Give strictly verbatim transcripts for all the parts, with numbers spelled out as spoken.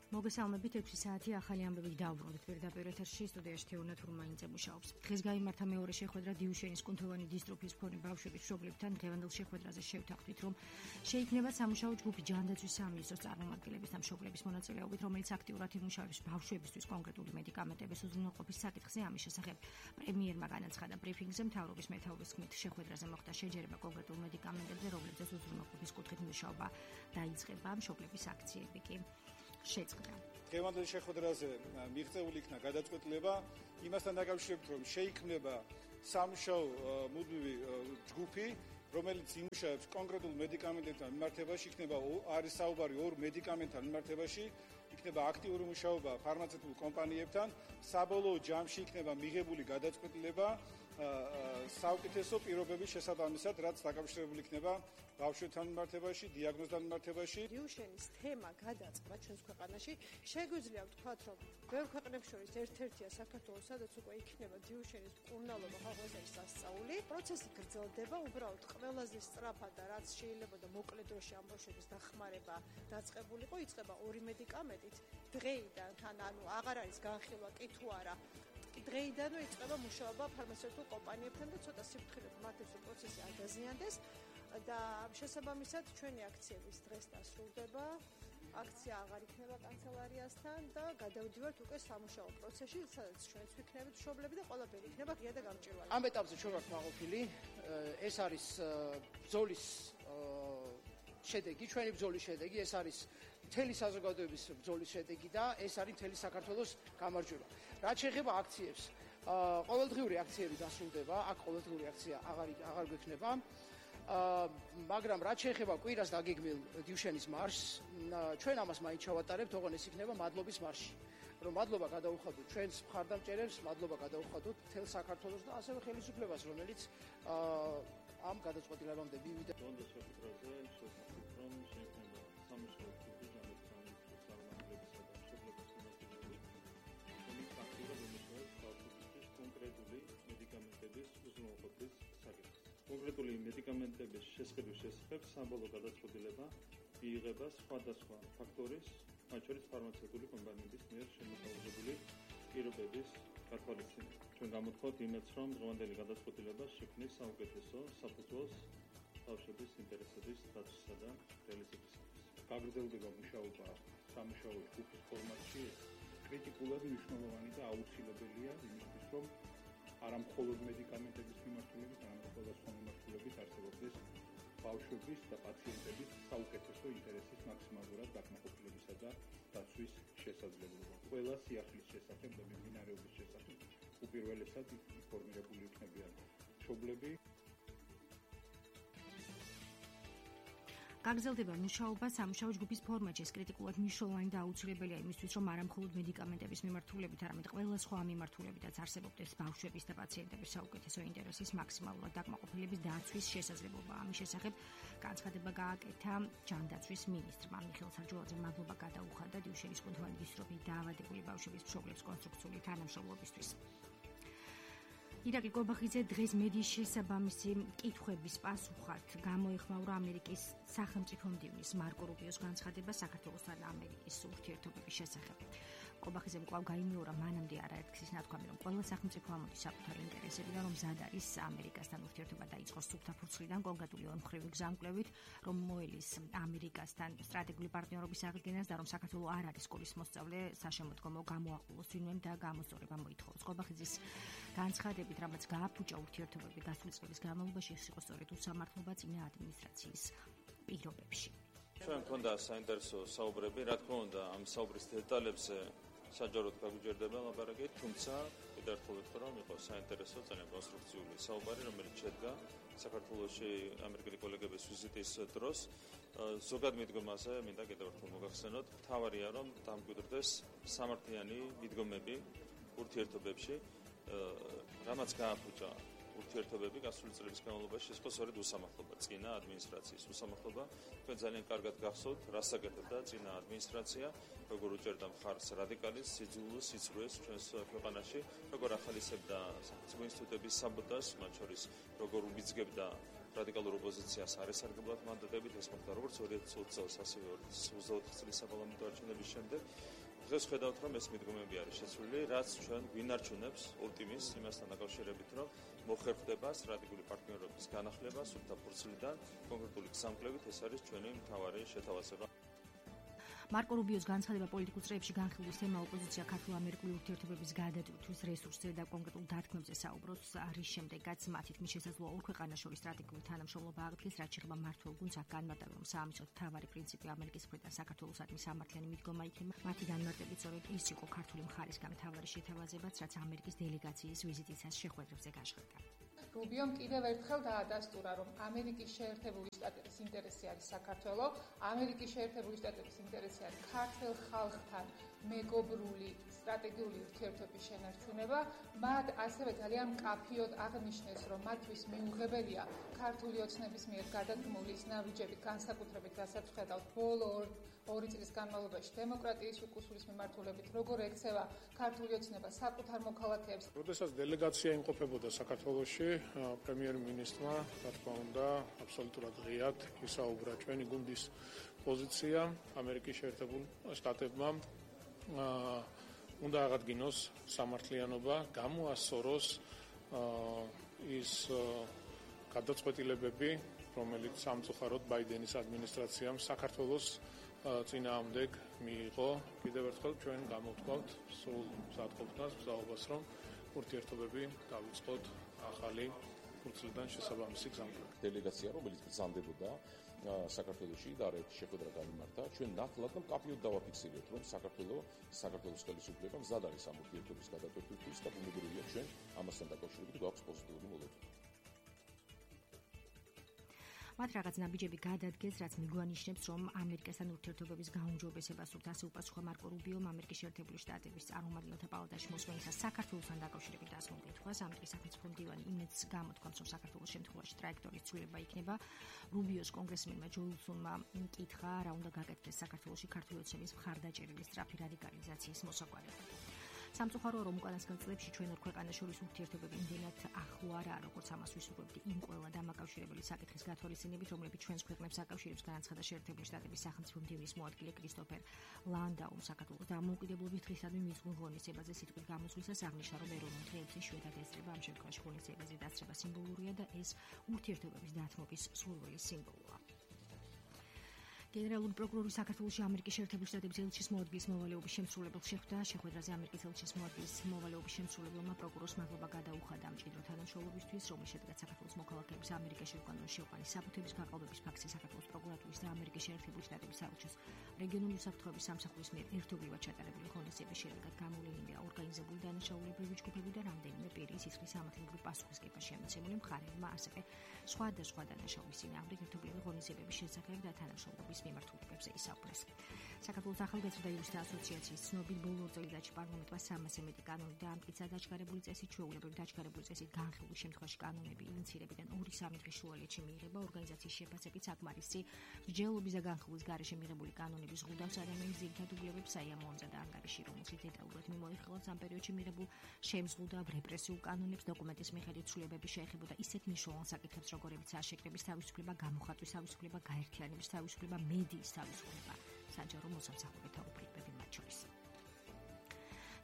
მოგესალმებით ექვსი საათი ახალი ამბები დავბრუნდით პირდაპირ ეთერში სტუდიაში თეორნა თურმაინიძე მუშაობს. დღეს გაიმართა მეორე შეხვედრა დიუშენის კუნთოვანი დისტროფიის მქონე ბავშვების მშობლებთან. დღევანდელ შეხვედრაზე შევთანხმდით, რომ შეიქმნება სამუშაო ჯგუფი ჯანდაცვის სამინისტროს წარმომადგენლების და მშობლების მონაწილეობით, რომელიც აქტიურად იმუშავებს ბავშვებისთვის კონკრეტული მედიკამენტების უზრუნველყოფის საკითხზე. ამის შესახებ პრემიერმა განაცხადა ბრიფინგზე, მთავრობის მეთაურის თქმით, შეხვედრაზე მოხდა შეჯერება კონკრეტულ მედიკამენტებზე, რომლებზეც უზრუნველყოფის კუთხით მუშაობა დაიწყება. მშობლების აქციები კი შეწყდა. დღევანდელ შეხვედრაზე მიღწეული იქნა გადაწყვეტილება იმასთან დაკავშირებით, რომ შეიქმნება სამუშაო მუდმივი ჯგუფი, რომელიც იმუშავებს კონკრეტულ მედიკამენტებთან მიმართებაში, იქნება არის საუბარი ორ მედიკამენტთან მიმართებაში, იქნება აქტიური მუშაობა ფარმაცევტულ კომპანიებთან, საბოლოო ჯამში იქნება მიღებული გადაწყვეტილება საუკეთესო პირობების შესაბამისად, რაც დაკავშირებული იქნება ბავშვებთან მიმართებაში, დიაგნოზთან მიმართებაში. დიუშენის თემა გადაწყდა ჩვენს ქვეყანაში. შეგვიძლია ვთქვათ, რომ ბევრ ქვეყნებს შორის ერთ-ერთია საქართველოს, სადაც უკვე იქნება დიუშენის მკურნალობა ხალხის სასწაული. პროცესი გრძელდება, უბრალოდ ყველაზე სწრაფად და რაც შეიძლება და მოკლე დროში ამ ბავშვების დახმარება დაწყებულიყო, იწყება ორი მედიკამენტით. დღეიდან თან ანუ აღარ არის განხილვა კი თუ არა. დღეიდანვე იწყება მუშაობა ფარმაცევტულ კომპანიებთან და ცოტა სიფრთხილედ მათ ეს პროცესი არ დაზიანდეს და შესაბამისად ჩვენი აქციების დღეს დასრულდება. აქცია აღარ იქნება კანცელარიასთან და გადავდივართ უკვე სამუშაო პროცესში, სადაც ჩვენც ვიქნებით მშობლები და ყველაფერი იქნება ღია და გამჭვირვალე. ამ ეტაპზე ჩვენ ვართ მაყოფილი. ეს არის ბრძოლის შედეგი, ჩვენი ბრძოლის შედეგი, ეს არის მთელი საზოგადოების ბრძოლის შედეგი და ეს არის მთელი საქართველოს გამარჯვება. რაც შეეხება აქციებს, ყოველდღიური აქციები დასრულდება, აქ ყოველდღიური აქცია აღარ აღარ გვექნება. მაგრამ რაც შეეხება კვირას დაგეგმილ დიუშენის მარშს, ჩვენ ამას მაინც ჩავატარებთ, ოღონდ ეს იქნება მადლობის მარში. რომ მადლობა გადაუხადოთ ჩვენს მხარდამჭერებს, მადლობა გადაუხადოთ მთელ საქართველოს და ასევე ხელისუფლებას, რომელიც ამ გადაწყვეტილებამდე მივიდა. დღევანდელ შეხვედრაზე შევთანხმდით, რომ შეიქმნება სამუშაო ჯგუფი ჯანდაცვის წარმომადგენლებისა და მშობლების მონაწილეობით, რომელიც აქტიურად იმუშავებს ბავშვებისთვის კონკრეტული მედიკამენტების უზრუნველყოფის საკითხზე. კონკრეტული მედიკამენტების შესყიდვის შესახებ საბოლოო გადაწყვეტილება მიიღება სხვადასხვა ფაქტორის, მათ შორის ფარმაცევტული კომპანიების მიერ შემოთავაზებული პირობების გათვალისწინებით. ჩვენ გამოთქვათ იმედს, რომ დღევანდელი გადაწყვეტილება შექმნის საუკეთესო საფუძველს ბავშვების ინტერესების დაცვისა და რეალიზაციისათვის. გაგრძელდება მუშაობა სამუშაო ჯგუფის ფორმატში. კრიტიკულად მნიშვნელოვანი და აუცილებელია იმისთვის, რომ არა მხოლოდ მედიკამენტების მიმართულებით, არამედ სხვადასხვა მიმართულებით არსებობდეს ბავშვების და პაციენტების საუკეთესო ინტერესის მაქსიმალურად დაკმაყოფილებისა და დაცვის შესაძლებლობა. ყველა სიახლის შესახებ და მიმდინარეობის შესახებ უპირველესად ინფორმირებული იქნებიან მშობლები. გაგრძელდება მუშაობა სამუშაო ჯგუფის ფორმატში. ეს კრიტიკულად მნიშვნელოვანი და აუცილებელია იმისთვის, რომ არა მხოლოდ მედიკამენტების მიმართულებით, არამედ ყველა სხვა მიმართულებითაც არსებობდეს ბავშვების და პაციენტების საუკეთესო ინტერესის მაქსიმალურად დაკმაყოფილების დაცვის შესაძლებლობა. ამის შესახებ განცხადება გააკეთა ჯანდაცვის მინისტრმა მიხეილ სარჯულაძემ. მადლობა გადაუხადა დიუშენის კუნთოვანი დისტროფიით დაავადებული ბავშვების მშობლებს კონსტრუქციული თანამშრომლობისთვის. ირაკლი კობახიძე დღეს მედიის შესაბამისი კითხვების პასუხად გამოეხმაურა ამერიკის სახელმწიფო მდივნის მარკო რუბიოს განცხადება საქართველოსთან და ამერიკის ურთიერთობების შესახებ. კობახიძემ კვლავ გაიმეორა მანამდე არაერთგზის ნათქვამი, რომ ყველა სახელმწიფო ამოდის საკუთარი ინტერესებიდან, რომ მზად არის ამერიკასთან ურთიერთობა დაიწყოს სუფთა ფურცლიდან, კონკრეტული ორმხრივი გზამკვლევით, რომ მოელის ამერიკასთან სტრატეგიული პარტნიორობის აღდგენას და რომ საქართველო არ არის სკოლის მოსწავლე, საშემოდგომო გამოაყოლოს ვინმემ და გამოსწორება მოითხოვოს. კობახიძის განცხადებით, რამაც გააფუჭა ურთიერთობები გასული წლების განმავლობაში, ეს იყო სწორედ უსამართლობა წინა ადმინისტრაციის პირობებში. ჩვენ გვქონდა საინტერესო საუბრები, რა თქმა უნდა, ამ საუბრის დეტალებზე საჯაროდ გაგვიჯერდება ლაპარაკი, თუმცა კიდევ ერთხელ ვეთქვა, რომ იყო საინტერესო, ძალიან კონსტრუქციული საუბარი, რომელიც შედგა საქართველოში ამერიკელი კოლეგების ვიზიტის დროს. ზოგად მიდგომაზე მინდა კიდევ ერთხელ მოგახსენოთ, მთავარია, რომ დამკვიდრდეს სამართლიანი მიდგომები ურთიერთობებში, რამაც გააფუჭა ურთიერთობები გასული წლების განმავლობაში, ეს იყო სწორედ უსამართლობა, წინა ადმინისტრაციის უსამართლობა. თქვენ ძალიან კარგად გახსოვთ, რას აკეთებდა წინა ადმინისტრაცია, როგორ უჭერდა მხარს რადიკალიზმს, სიძულვილს, სიცრუეს ჩვენს ქვეყანაში, როგორ ახალისებდა სახელმწიფო ინსტიტუტების საბოტაჟს, მათ შორის როგორ უბიძგებდა რადიკალურ ოპოზიციას არ ესარგებლად მანდატებით, ეს მოხდა როგორც ორი ათი ოცი წელს, ასევე ორი ათი ოცდაოთხ წლის საპარლამენტო არჩევნების შემდეგ. დღეს ხედავთ, რომ ეს მიდგომები არის შეცვლილი, რაც ჩვენ გვინარჩუნებს ოპტიმიზმს იმასთან დაკავშირებით, რომ მოხერხდება სტრატეგიული პარტნიორობის განახლება სუფთა ფურცლიდან, კონკრეტული გზამკვლევით ეს არის ჩვენი მთავარი შეთავაზება. მარკო რუბიოს განცხადება პოლიტიკურ წრეებში განხილვის თემა ოპოზიცია ქართულ-ამერიკული ურთიერთობების გადატვირთვის რესურსზე და კონკრეტულ დათქმებზე საუბრობს არის შემდეგაც მათი თქმის შესაძლოა ორ ქვეყანას შორის სტრატეგიული თანამშრომლობა აღდგეს, რაც შეეხება მმართველ გუნდს აქ განმარტება, რომ საამისოდ მთავარი პრინციპი ამერიკის მხრიდან საქართველოსადმი სამართლიანი მიდგომა იქნება. მათი განმარტებით სწორედ ის იყო ქართული მხარისგან მთავარი შეთავაზებაც, რაც ამერიკის დელეგაციის ვიზიტისას შეხვედრებზე გაშხდა. რუბიომ კიდევ ერთხელ დაადასტურა, რომ ამერიკის შეერთებული შტატების ინტერესი არის საქართველოს, ამერიკის შეერთებული შტატების ინტერესი არის ქართულ ხალხთან მეგობრული სტრატეგიული ურთიერთობის შენარჩუნება. მათ ასევე ძალიან მკაფიოდ აღნიშნეს, რომ მათთვის მიუღებელია ქართული ოცნების მიერ გადადგმული ნაბიჯებით, განსაკუთრებით რასაც ვხედავთ ბოლო ორი წლის განმავლობაში დემოკრატიის უკუსულის მიმართულებით, როგორ ექცევა ქართული ოცნება საკუთარ მოქალაქეებს. როდესაც დელეგაცია იმყოფებოდა საქართველოში, პრემიერ-მინისტრმა, რა თქმა უნდა, აბსოლუტურად ღიად ისაუბრა ჩვენი გუნდის პოზიცია ამერიკის შეერთებულ შტატებმა უნდა აღადგინოს სამართლიანობა, გამოასწოროს ის გადაწყვეტილებები, რომელიც სამწუხაროდ ბაიდენის ადმინისტრაციამ საქართველოს წინააღმდეგ მიიღო. კიდევ ერთხელ ჩვენ გამოვთქვათ სულ მზადყოფნას, მზაობას, რომ ურთიერთობები დავიწყოთ ახალი ფურცლიდან შესაბამისი გზამკვლევით. დელეგაცია, რომელიც ბრძანდებოდა საქართველოში და არაერთი შეხვედრა გამიმართა, ჩვენ ნათლად და მკაფიოდ დავაფიქსირებთ, რომ საქართველოს საქართველოს ხელისუფლება მზად არის ამ ურთიერთობის გადაწყვეტისთვის და ბუნებრივია ჩვენ ამასთან დაკავშირებით გვაქვს პოზიტიური მოლოდინი. მათ რაღაც ნაბიჯები გადადგეს, რაც მიგვანიშნებს, რომ ამერიკასთან ურთიერთობების გაუმჯობესება სურთ, ასე უპასუხა მარკო რუბიომ ამერიკის შეერთებული შტატების წარმომადგენელთა პალატაში მოსვლისას საქართველოსთან დაკავშირებით დასმულ კითხვას. ამერიკის სახელმწიფო მდივანი იმედს გამოთქვამს, რომ საქართველოს შემთხვევაში ტრაექტორის ცვლილება იქნება. რუბიოს კონგრესმენმა ჯო უილსონმა კითხა, რა უნდა გაკეთდეს საქართველოში ქართული ოცნების მხარდაჭერილი სწრაფი რადიკალიზაციის მოსაგვარებლად. სამწუხაროა, რომ უკანასკნელ წლებში ჩვენ ორ ქვეყანას შორის ურთიერთობები იმდენად ახლო არაა, როგორც ამას ვისურვებდი იმ ყველა დამაკავშირებელი საკითხის გათვალისწინებით, რომლებიც ჩვენს ქვეყნებს აკავშირებს, განაცხადა შეერთებული შტატების სახელმწიფო მდივნის მოადგილე კრისტოფერ ლანდაუმ. საქართველოს დამოუკიდებლობის დღისადმი მისულ ღონისძიებაზე სიტყვით გამოსვლისას აღნიშნა, რომ ეროვნულ დღეებში იშვიათად ესწრება, ამ შემთხვევაში ღონისძიებაზე დასწრება სიმბოლურია და ეს ურთიერთობების დათმობის სურვილის სიმბოლოა. გენერალური პროკურორი საქართველოში ამერიკის შეერთებული შტატების ელჩის მოადგილის მოვალეობის შემსრულებელს შეხვდა. შეხვედრაზე ამერიკის ელჩის მოადგილის მოვალეობის შემსრულებელმა პროკურორს მადლობა გადაუხადა მჭიდრო თანამშრომლობისთვის, რომლის შედეგად საქართველოს მოქალაქეების ამერიკაში უკანონო შეყვანის საფუთების გაყალბების ფაქტზე საქართველოს პროკურატურის და ამერიკის შეერთებული შტატების საელჩოს რეგიონული უსაფრთხოების სამსახურის მიერ ერთობლივად ჩატარებული ღონისძიების შედეგად გამოვლენილია ორგანიზებული დანაშაულებრივი ჯგუფები და რამდენიმე პირი სისხლის სამართლებრივი პასუხისმგება შემოცემული მხარეებმა, ასევე სხვადასხვა დანაშაულის წინააღმდეგ ერთობლივი ღონისძიებების შესახებ და თანამშრომლობის მიმართულებებზე ისაუბრეს. საქართველოს ახალგაზრდა იურისტთა ასოციაციის ცნობით ბოლო წელიწადში პარლამენტმა სამასზე მეტი კანონი დაამტკიცა დაჩქარებული წესით, ჩვეულებრივ დაჩქარებული წესით განხილვის შემთხვევაში კანონები ინიცირებიდან ორი სამი დღის შუალედში მიიღება. ორგანიზაციის შეფასებით საკმარისი მსჯელობის და განხილვის გარეშე მიღებული კანონების ზღუდავს ადამიანის ძირითად უფლებებს, საიამოამზა და ანგარიში, რომელშიც დეტალურად მიმოიხილავს ამ პერიოდში მიღებულ შემზღუდავ რეპრესიულ კანონებს, დოკუმენტის მიხედვით ცვლილებები შეეხებოდა ისეთ მნიშვნელოვან საკითხებს, როგორებიცაა შეკრების თავისუფლება, გამოხატვის თავისუფლება, გაერთიანების თავისუფლება, მედიის თავისუფლება, საჯარო მოსამსახურეთა უფლებები მათ შორის.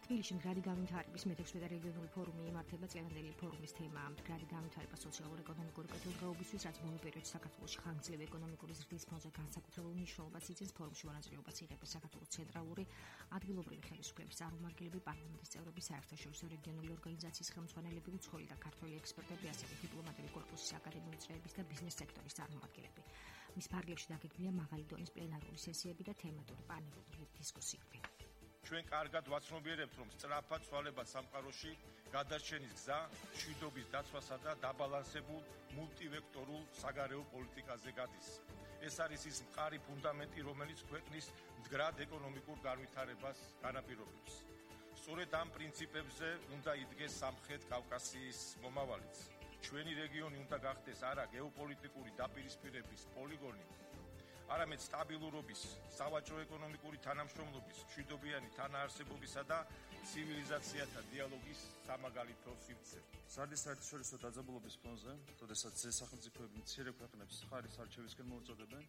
თბილისში მდგრადი განვითარების მეთექვსმეტ რეგიონული ფორუმი იმართება. წლევანდელი ფორუმის თემაა მდგრადი განვითარება სოციალურ-ეკონომიკური კეთილდღეობისთვის, რაც ბოლო პერიოდში საქართველოში ხანგრძლივი ეკონომიკური ზრდის ფონზე განსაკუთრებულ მნიშვნელობას იძლევის. ფორუმში მონაწილეობას იღებს საქართველოს ცენტრალური ადგილობრივი ხელისუფლების წარმომადგენლები, პარლამენტის წევრები, საერთაშორისო რეგიონული ორგანიზაციის ხელმძღვანელები, უცხოელი და ქართველი ექსპერტები, ასევე დიპლომატიური კორპუსის აკადემიური წრეების და ბიზნეს სექტორის წარმომადგენლები. მის ფარგლებში დაგეგმილია მაღალი დონის პლენარული სესიები და თემატური პანელური დისკუსიები. ჩვენ კარგად ვაცნობიერებთ, რომ სწრაფად ცვალება სამყაროში გადარჩენის გზა მშვიდობის დაცვასა და დაბალანსებულ მულტივექტორულ საგარეო პოლიტიკაზე გადის. ეს არის ის მყარი ფუნდამენტი, რომელიც ქვეყნის მდგრად ეკონომიკურ განვითარებას განაპირობებს. სწორედ ამ პრინციპებზე უნდა იდგეს სამხრეთ კავკასიის მომავალიც. ჩვენი რეგიონი უნდა გახდეს არა გეოპოლიტიკური დაპირისპირების პოლიგონი, არამედ სტაბილურობის, სავაჭრო-ეკონომიკური თანამშრომლობის, მშვიდობიანი თანაარსებობისა და ცივილიზაციათა დიალოგის სამაგალითო სივრცე. სარდის საერთაშორისო დაძაბულობის ფონზე, როდესაც სახელმწიფოები მცირე ქვეყნებს ხარის არჩევისკენ მოუწოდებენ,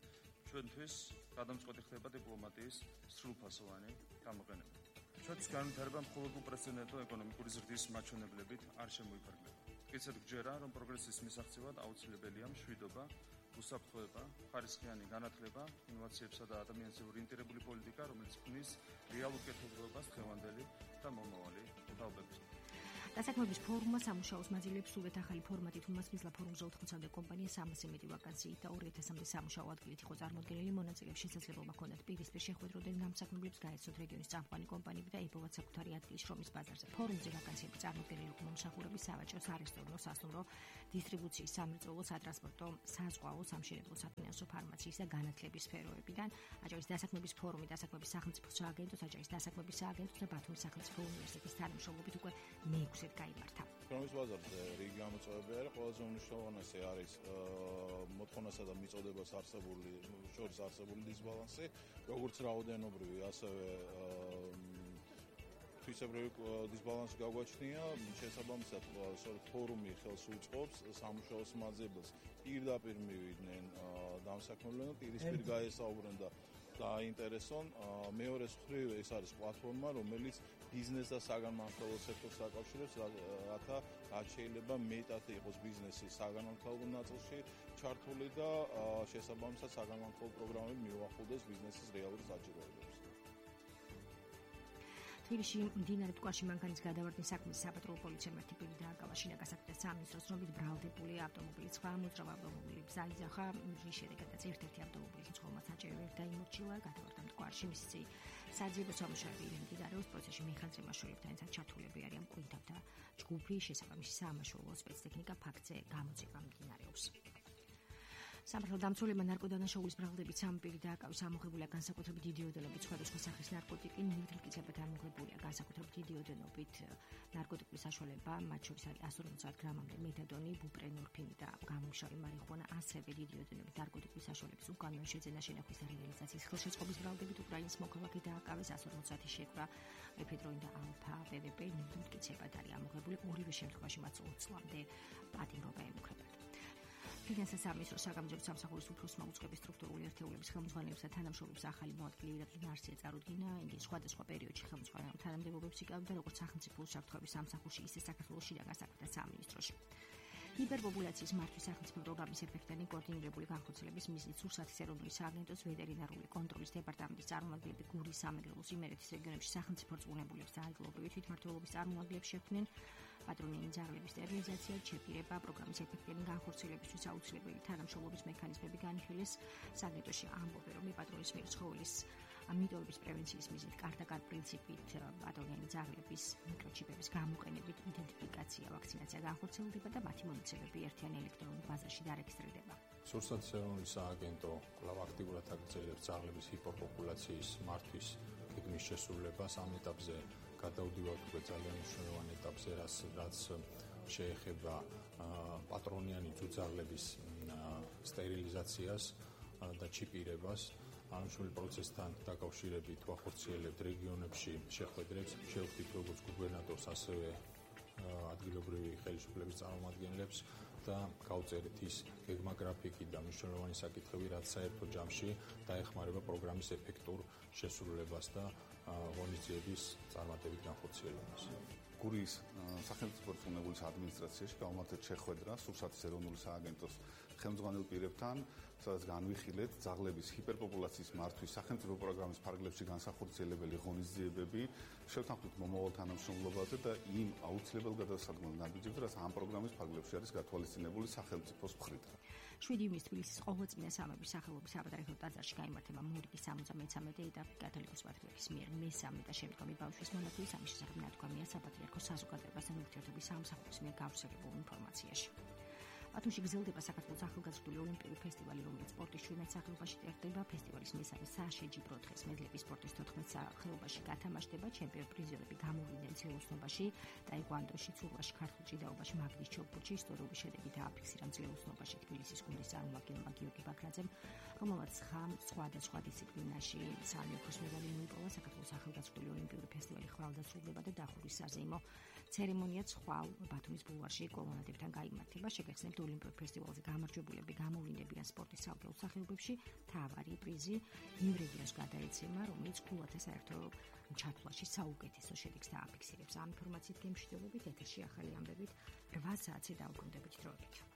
ჩვენთვის გადამწყვეტი ხდება დიპლომატიის სრულფასოვანი გამოყენება. ჩვენთვის განვითარება მხოლოდ უპრეცედენტო ეკონომიკური ზრდის მაჩვენებლებით არ შემოიფარგლება. მტკიცედ გჯერა, რომ პროგრესის მისაღწევად აუცილებელია მშვიდობა, უსაფრთხოება, ხარისხიანი განათლება, ინოვაციებსა და ადამიანზე ორიენტირებული პოლიტიკა, რომელიც ქმნის რეალურ კეთილდღეობას დღევანდელი და მომავალი თაობების. დასაქმების ფორუმმა სამუშაოს მაძილებს სულეთ ახალი ფორმატით უმასპინძლა ფორუმზე ოთხმოცამდე კომპანია სამასი მეტი ვაკანსიით და ორი ათასამდე სამუშაო ადგილით იყო წარმოდგენილი. მონაწილეებს შესაძლებლობა ჰქონდათ პირისპირ შეხვედროდნენ გამსაქმებლებს, გაეცოთ რეგიონის წამყვანი კომპანიები და ებოვათ საკუთარი ადგილი შრომის ბაზარზე. ფორუმზე ვაკანსიები წარმოდგენილი იყო მომსახურების, სავაჭრო, სარესტორნო, სასტუმრო, დისტრიბუციის, სამრეწველო, სატრანსპორტო, საზღვაო, სამშენებლო, საფინანსო, ფარმაციის და განათლების სფეროებიდან. აჭარის დასაქმების ფორუმი, დასაქმების სახელმწიფო სააგენტოს, აჭარის დასაქმების სააგენტოს და ბათუმის სახელმწიფო უნივერსიტეტის თანამშრომლობით უკვე მეექვსე გაიმართა. შრომის ბაზარზე რიგი გამოწვევები არის, ყველაზე უმნიშვნელოვანესი არის მოთხოვნასა და მიწოდებას არსებული შორის არსებული დისბალანსი, როგორც რაოდენობრივი, ასევე თვისებრივი დისბალანსი გაგვაჩნია. შესაბამისად, ფორუმი ხელს უწყობს სამუშაოს მაძიებელს პირდაპირ მივიდნენ დამსაქმებელნი, პირისპირ გაესაუბრნენ და დააინტერესონ. მეორე მხრივ ეს არის პლატფორმა, რომელიც ბიზნეს და საგანმანათლებლო სექტორს აკავშირებს, რათა რაც შეიძლება მეტად იყოს ბიზნესი საგანმანათლებლო ნაწილში ჩართული და შესაბამისად საგანმანათლებლო პროგრამები მიუახლოვდეს ბიზნესის რეალურ საჭიროებებს. თბილისში მდინარე მტკვარში მანქანის გადავარდნის საქმის საპატრულო პოლიციამ ერთი პირი დააკავა. შინაგან საქმეთა სამინისტროს ცნობით ბრალდებული ავტომობილი სხვა მოძრავ ავტომობილი ზაიზახა, რის შედეგადაც ერთ-ერთი ავტომობილის მძღოლმა საჭირო ვერ დაიმორჩილა. გადავარდა მტკვარში მისი საძიებო სამუშაოები მიმდინარეობს. პროცესში მეხანძრე მასშტაბებთან ერთად ჩართულები არიან მკვიდრთა ჯგუფი, შესაბამისი საამაშუალო სპეცტექნიკა ფაქტზე გამოძიება მიმდინარეობს. სამართალ დამცველებმა ნარკოდანაშაულის ბრალდებით სამი პირი დააკავეს. ამოღებულია განსაკუთრებით დიდი ოდენობით სხვადასხვა სახის ნარკოტიკი, ნივთმკიცებად ამოღებულია განსაკუთრებით დიდი ოდენობით ნარკოტიკების საშუალება, მათ შორის არის εκατი ორმოცდაათ გრამამდე მეთადონი, ბუპრენორფინი და გამომშრალი მარიხუანა, ასევე დიდი ოდენობით ნარკოტიკების საშუალების უკანონო შეძენა, შენახვის და რეალიზაციის ხელშეწყობის ბრალდებით უკრაინის მოქალაქე დააკავეს. εκατი ორმოცდაათი შეკრა ეფედრონი და ალფა ვვპ ნივთმკიცებად არის ამოღებული. ორივე შემთხვევაში მათ ოც წლამდე პატიმრობა ემუქრებათ. ფინანსთა სამინისტროს საგამოძიებო სამსახურის უფროსმა უწყების სტრუქტურული ერთეულების ხელმძღვანელებს და თანამშრომლებს ახალი მოადგილე ირაკლი ნარსია წარუდგინა. იგი სხვადასხვა პერიოდში ხელმძღვანელ თანამდებობებს იკავებდა როგორც სახელმწიფო უსაფრთხოების სამსახურში, ისე საქართველოს შინაგან საქმეთა სამინისტროში. ჰიპერპოპულაციის მართვის სახელმწიფო პროგრამის ეფექტიანი კოორდინირებული განხორციელების მიზნით სურსათის ეროვნული სააგენტოს ვეტერინარული კონტროლის დეპარტამენტის წარმომადგენლები გურის, სამეგრელოს, იმერეთის რეგიონებში სახელმწიფო რწმუნებულებს და ადგილობრივი თვითმმართველობის წარმომადგენლებს შექმნენ. პატრონიანი ძაღლების სტერილიზაცია, ჩეპირება, პროგრამის ეფექტიანი განხორციელებისთვის აუცილებელი თანამშრომლობის მექანიზმები განიხილეს. სააგენტოში ამბობენ, რომ პატრონის მიერ ცხოველის მიტოვების პრევენციის მიზნით კარტ-კარტ პრინციპით პატრონიანი ძაღლების მიკროჩიპების გამოყენებით იდენტიფიკაცია, ვაქცინაცია განხორციელდება და მათი მონაცემები ერთიანი ელექტრონულ ბაზაში დარეგისტრირდება. სურსათის ეროვნული სააგენტო კვლავ აქტიურად აგრძელებს ძაღლების ჰიპერპოპულაციის მართვის გეგმის შესრულებას. ამ ეტაპზე გადავდივართ უკვე ძალიან მნიშვნელოვან ეტაპზე, რაც შეეხება პატრონიანი ძუძაღლების სტერილიზაციას და ჩიპირებას. ამშველი პროცესთან დაკავშირებით ვახორციელებთ რეგიონებში შეხვედრებს, შევხვდით როგორც გუბერნატორს, ასევე ადგილობრივი ხელისუფლების წარმომადგენლებს და გავწერეთ ის გეგმა გრაფიკი და მნიშვნელოვანი საკითხები, რაც საერთო ჯამში დაეხმარება პროგრამის ეფექტურ შესრულებას და ღონისძიების წარმატებით განხორციელებას. გურის სახელმწიფო რწმუნებულის ადმინისტრაციაში გავმართეთ შეხვედრა სურსათის ეროვნული სააგენტოს ხელმძღვანელ პირებთან, სადაც განვიხილეთ ძაღლების ჰიპერპოპულაციის მართვის სახელმწიფო პროგრამის ფარგლებში განსახორციელებელი ღონისძიებები, შევთანხმდით მომავალ თანამშრომლობაზე და იმ აუცილებელ გადასადგმელ ნაბიჯებზე, რაც ამ პროგრამის ფარგლებში არის გათვალისწინებული სახელმწიფოს მხრიდან. შვიდი ივნისის თბილისის ყოველწლინა სამების სახელობის საბადარო ტაძარში გაიმართება მორგის სამოცდამეცამეტე ეტაპი კათოლიკოს პატრიარქის მიერ მესამე და შემდგომი ბავშვის მონათლების ამის შესახებ ნათქვამია საპატრიარქოს საზოგადოებასთან ურთიერთობის სამსახურის მიერ გავრცელებულ ინფორმაციაში. ბათუმში გრძელდება საქართველოს ახალგაზრდული ოლიმპიური ფესტივალი, რომელიც სპორტის შვიდმეტ სახეობაში ტარდება. ფესტივალის მესამე საშეჯიბრო დღეს მედლების სპორტის თოთხმეტ სახეობაში გათამაშდება. ჩემპიონ პრიზიორები გამოვიდნენ ძლევოსნობაში, ტაიკვანდოში, ცურვაში, ქართულ ჭიდაობაში, მაგნის ჩოგბურთში. ისტორიული შედეგი დააფიქსირა ძლევოსნობაში თბილისის გუნდის წარმომადგენელმა გიორგი ბაქრაძემ, რომელმაც სხვადასხვა დისციპლინაში სამი ოქროს მედალი მოიპოვა. საქართველოს ახალგაზრდული ოლიმპიური ფესტივალი ხვალდასრულდება და დახურის საზეიმო ცერემონიაც ხვალ ბათუმის ბულვარში კოლონადებთან გაიმართება. შეგახსენებთ, ოლიმპიურ ფესტივალზე გამარჯვებულები გამოვლინდებიან სპორტის ცალკეულ სახეობებში. თავარი პრიზი იმ რეგიონს გადაეცემა, რომელიც ქულათა საერთო ჩათვლაში საუკეთესო შედეგს დააფიქსირებს. ამ ინფორმაციით გემშვიდობებით ეთერში ახალი ამბებით რვა საათზე დავუკვირდებით დროებით.